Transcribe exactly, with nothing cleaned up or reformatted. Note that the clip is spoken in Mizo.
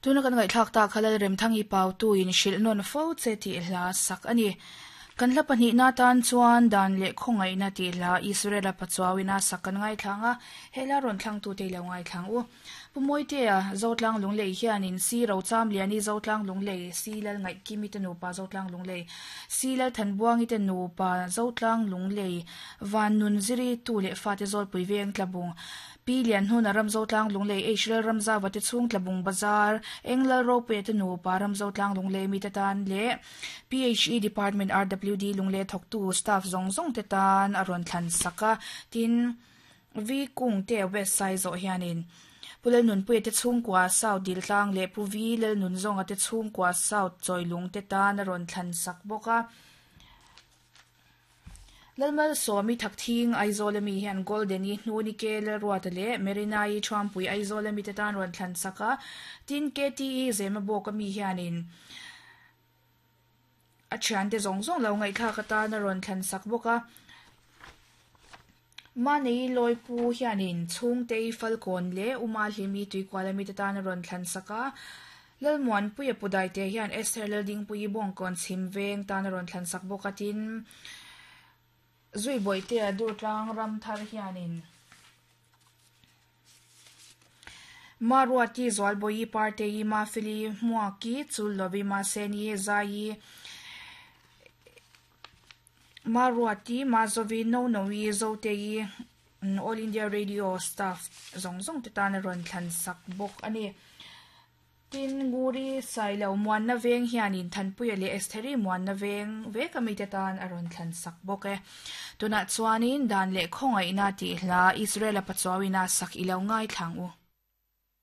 Tuna kan ngai thlak ta khalal rem thangi pau tu in hril non fo che ti hla sak ani. Kan hla pahnih na tan chuan dan leh khawngaih na ti hla Israela pachuawina sak kan ngai thlanga hela ron thlang tu te lo ngai thlang u. Pumoitea zotlang lunglei hianin si ro cham liani zotlang lunglei si lal ngai kimi te nupa zotlang lunglei si lal thanbuangi te nupa zotlang lunglei van nun ziri tu le fa te zol pui veng tlabung pi lian hun ram zotlang lunglei Israel ramza wate chung tlabung bazar englal ro pe te nupa ram zotlang lunglei mi te tan le P H E Department R W D lungle thok tu staff zong zong te tan aron thlan saka tin vi kung te west side zo hianin pulal nun pui te chung kwa south dil tlang le pu vi lel nun zong ate chung kwa south choilung te tan aron thlan sak boka lalmal somi thakthing Aizawl mi hian golden i hnuni ke le ruat le merinai thuampui Aizawl mi te tan ron thlan saka tin K T E zema boka mi hianin a thian te zong zong lo ngai kha ka ta na ron thlan sak boka ma nei loi pu hianin chung te falkon le uma hlimi tuikwala mi te tan ron thlan saka lalmuan pui pudai te hian Esther lelding pui bong kon chim veng tan ron thlan sak boka tin zui boi te dur tlang ram thar hianin maruati zol boi parte ma fili muaki chul lobi ma seni zai maruati mazovi no nowi zote yi All India Radio staff zong zong te tan ron thlan sak bok ani tin nguri sailo muan na veng hianin thanpui le Estheri muan na veng ve kami te tan aron thlan sak bok e tuna chuanin dan le khongai na ti hla Israel pachuawina sak ilo ngai thlang u.